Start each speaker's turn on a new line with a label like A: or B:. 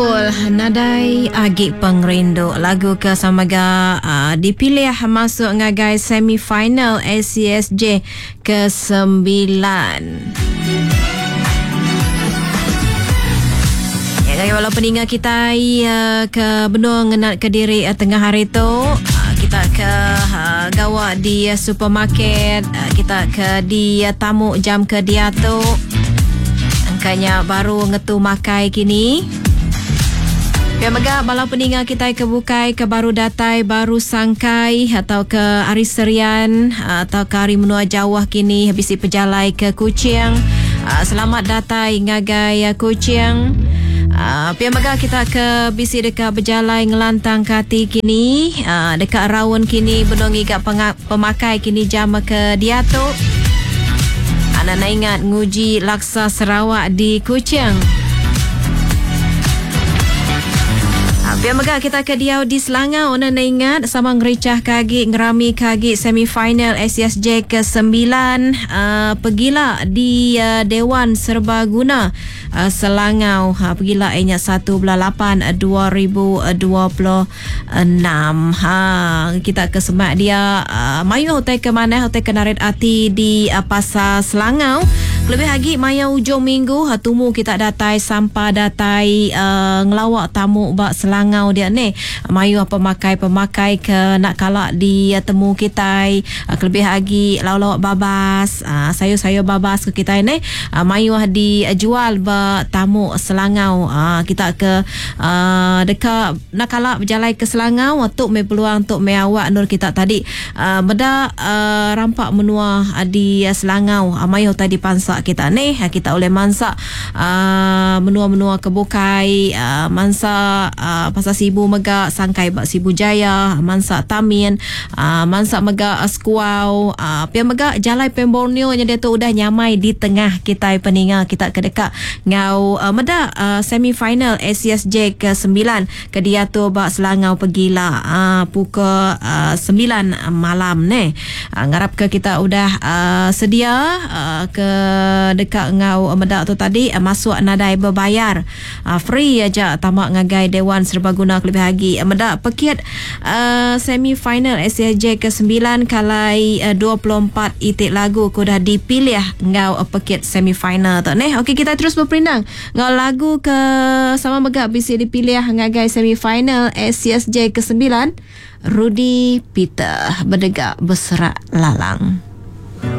A: Nadai agi pengerindu lagu ke sama ga uh, dipilih masuk ngagai semi-final ACSJ ke-9. Ya, ngagai bala peninga kita uh, ke benung ngenat ke diri uh, tengah hari tu uh, kita ke uh, gawa di uh, supermarket uh, kita ke di uh, tamu jam ke diatu Engkanya baru ngetu makai kini. Pia mega bala peninga kitai ke bukai ke baru datai baru sangkai atau ke ari Serian atau ke ari menua jauh kini bisi pejalai ke Kuching. Ah, selamat datai ngagai ah, Kuching. Ah, pia mega kita ke bisi deka bejalai ngelantang ke ati kini deka raun kini benung ngiga pemakai kini jam ke diatu. Anak ingat nguji laksa Sarawak di Kuching. Pia mega kita ke diau di Selangau enda enda ingat sama ngerichah ke agi ngerami ke agi semi final ACSJ ke sembilan uh, pegila di uh, Dewan Serbaguna uh, Selangau uh, pegila inya 1 bulan 8 2026. Ha kita ke semak dia uh, mayuh utai ke manah utai ke narit ati di uh, pasar Selangau. Lebih agi maya ujung minggu uh, tumu kita datai sampa datai uh, ngelawa tamu ba Selangau dia ni. Mayuh pemakai-pemakai ke nak kala di uh, temu kitai uh, kelebih agi lauk-lauk babas uh, sayur-sayur babas ke kitai ni uh, mayuh dijual ba tamu Selangau. Uh, kita ke uh, deka nak kala berjalai ke Selangau tu meh peluang tu meh awak nur kita tadi uh, meda uh, rampak menua uh, di Selangau uh, mayuh tadi pansa kita ni uh, kita oleh mansa uh, menua-menua ke bukai uh, mansa uh, pasal Sibu mega sangkai ba Sibu Jaya mansa Tamin uh, mansa mega uh, Sekuau uh, pia mega jalai Pan Borneo nya dia tu udah nyamai di tengah kita peninga kita ke dekat ngau uh, meda uh, semi final ACSJ ke 9 ke diatu ba Selangau pegila uh, pukul uh, 9 malam ni. Uh, ngarap ke kita udah uh, sedia uh, ke dekat ngau meda tu tadi uh, masuk nadai berbayar. Uh, free aja tamak ngagai Dewan Serbaguna kelebih lagi uh, meda pekit uh, semi final ACSJ ke 9 kalai uh, 24 itik lagu ke udah dipilih ngau uh, pekit semi final tu ni. Okey kita terus berperindang ngau lagu ke sama mega bisi dipilih ngagai semi final ACSJ ke 9 Rudy Peter berdegak berserak lalang.